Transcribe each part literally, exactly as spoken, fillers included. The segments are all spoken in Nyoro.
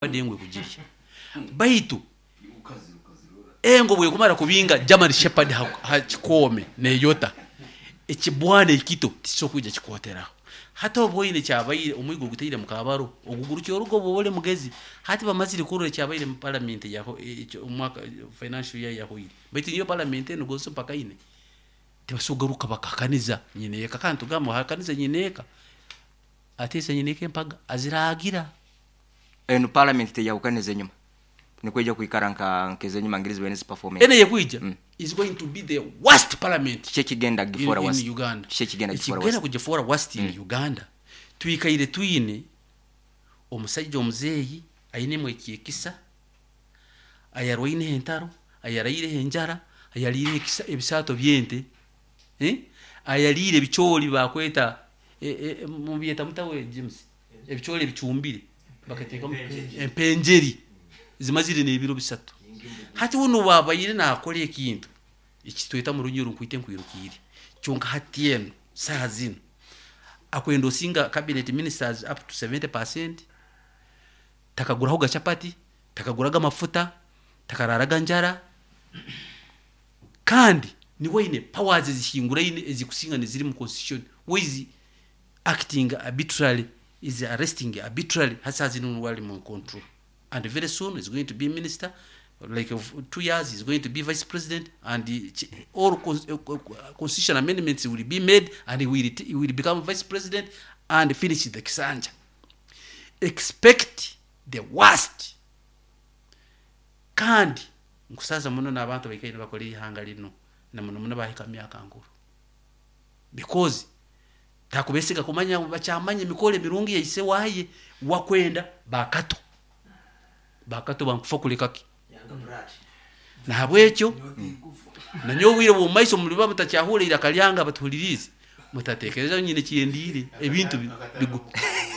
Engo ekugirya, baitu engo bwekumara kubinga German Shepherd ha, ha kikome neyota ekibwana ekito tikisobola kwija kikwoteraho. Hati obwoine kyabaire omwigo ogutaire mukabaro ogugurukya orugo bwoba oli mugezi. Hati bamazire kurora ekyabaire mu parliament yaho omwaka financial year yahoire, baitu niyo parliament enu gonze mpaka ine tibasobola kugaruka bakahakaniza nyineeka. Kandi tugamba ohakaniza nyineeka, ateesa nyineeka empaga aziragira. Enu parliament teyahukaniza enyuma, nikwija kwikara nka nkezenyuma ngeri zibaire niziperforming. Ene yekwija Mm. is going to be the worst parliament Kiki ekigenda in, gifoora in worst? Uganda. Kiki ekigenda gifoora Ekigenda worst? kugifoora worst in Uganda, twikaire twine omusajja omuzeeyi ainemu ekyekisa, ayarwaineho entaro, ayaraireho enjara, ayaliire ekisa ebisaato byente, eh? Ayaliire ebicooli bakweta eh, eh, mubyeta mutawe James, ebicooli ebicumbire bakateekamu empenjeri zimazire n'ebiro bisatu. Hati wuno wabaire nakora ekintu ekitweta mu Runyoro nkwite nkwirukiire, kyonka hati eno saaha zino akwenda osinga cabinet ministers up to seventy percent, takaguraho gachapati, takaguraga amafuta, takararaga njara, kandi niwe aine powers ezihinguraine ezikusinga neziri mu constitution. Waizi acting arbitrarily, is arresting arbitrarily. Hasa zino niwe ali mu control, and very soon is going to be minister, like of two years is going to be vice president, and the, ch- all cons- uh, uh, constitution amendments will be made and he will, he will become vice president and finish the kisanja. Expect the worst. Kandi nkusaza muno n'abantu baikaire bakora ihanga lino na muno muno bahika myaka nkuru, because takubesiga kumanya bakyamanya emikoro emirungi yaise waye wakwenda bakato bakato bankufa kulekaki. Nahabwekyo nanyowe obwire bw'omumaiso muliba mutakyahurra iraka lyange, abatuhuliriize, mutatekereza nyine kyendiire. Ebintu bi- bigu-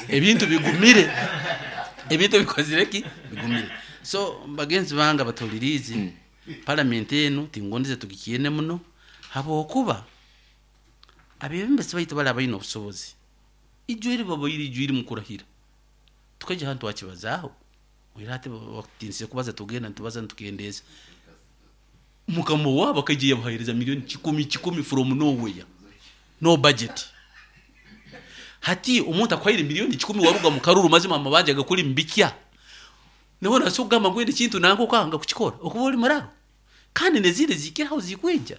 ebintu bigumire, ebintu bikozire ki bigumire. So bagenzi bange abatuhuliriize, palamenti enu tingondeze tugikyene muno, habwokuba abebembezi baitu bali abaine obusobozi ijwiri babaire ijwiri mukurahira tukaija hanu twakibazaaho era ati bakutinise kubaza, tugenda nitubaza nitukendeeza. Mukama wabo akaija yabahereza miliyoni kikumi kikumi from nowhere, no budget. Hati omuntu akuhaire miliyoni kikumi waruga mu karuru, mazima amabanja gakuli mubikya, niwe nasobola kugamba ngu ende kintu nange okanga kukikora okuba oli muraro. Kandi nezindi zikiraho zikwija,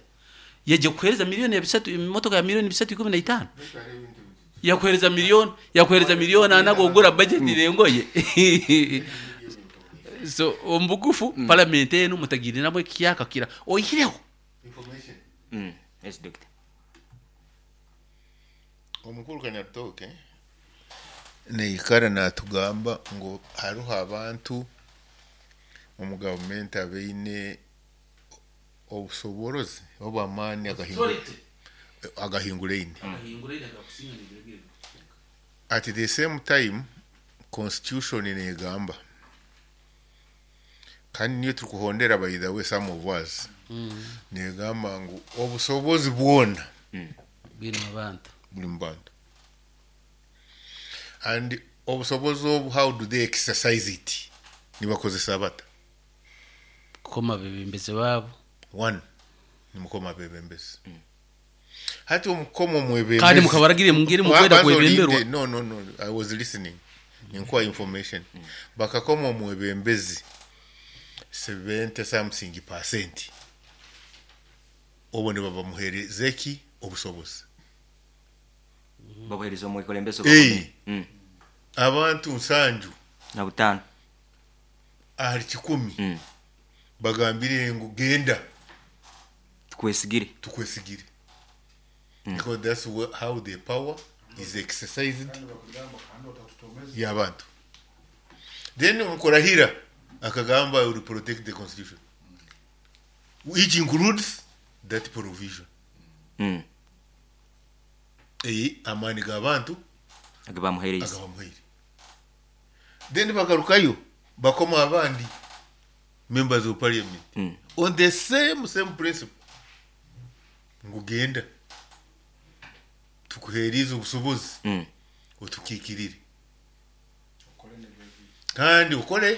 yaija kukuhereza miliyoni ya bisatu, emotoka ya miliyoni bisatu ikumi na itaano, yakuhereza miliyoni yakuhereza miliyoni ana gogura budget rengoye. So omubugufu mm. Parliament enu mutagiriramu ekyaka kira oihireho. Information. Mm. Yes, doctor. Omukuru Kanyarutooke neikara natugamba ngu hariho abantu omu gavumenti abaine obusoborozi oba amaani agahinguraine. At the same time, constitution negamba, kandi niyo turikuhondera, by the way, some of us, negamba ngu obusobozi bwona bwine abantu. Buli mu bantu. And obusobozi obu, how do they exercise it? Nibakozesa bata? Kukoma bebembezi baabo. One, nimukoma abebembezi. Hati omukoma omwebembezi Kandi mukabaragire mungeri mukwenda Banza kwebemberwa. olinde. no no no I was listening, ninkuwa information. Bakakoma omwebembezi seventy something percent, obwo nibabamuhereza eki? Obusobozi. Babuhereza omwekulembeze. Eh. Mm. Abantu nsanju na butaano ahali kikumi Mm. bagambire ngu genda, tukwesigire. Tukwesigire, because that's wha- how the power is exercised y'abantu. Then mukurahira akagamba, "I will protect the constitution," which includes that provision. Mm. Eyi amaani g'abantu age bamuhereza. Agabamuhaire. Then bagarukayo bakoma abandi members of parliament Mm. on the same same principle ngu genda, tukuhereze obusobozi, Mm. otukiikirire. Kandi ukole.